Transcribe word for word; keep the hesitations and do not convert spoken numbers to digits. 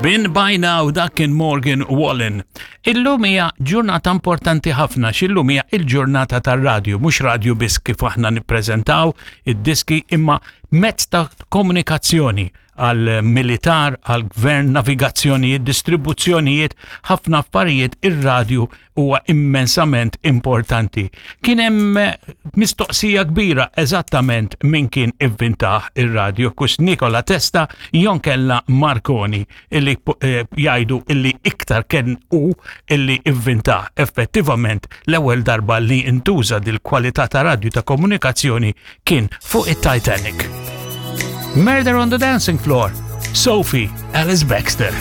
Been by Now, dak kien Morgan Wallen. Illum hija ġurnata importanti ħafna, x'illum hija il-ġurnata tar-radju, mhux radju biss kif aħna nippreżentaw id-diski, imma mezz ta' komunikazzjoni għal militar, għal gvern, navigazzjonijiet, distribuzzjonijiet, ħafna affarijiet, ir-radju huwa immensament importanti. Kien hemm mistoqsija kbira eżattament min kien ivvintah ir-radju, kus Nikola Tesla jew inkella Marconi, illi eh, jgħidu illi iktar kien hu illi ivvintah. Effettivament, l-ewwel darba li intuża dil-kwalità ta' radju ta' komunikazzjoni kien fuq it-Titanic. Murder on the Dancing Floor, Sophie Ellis Bextor.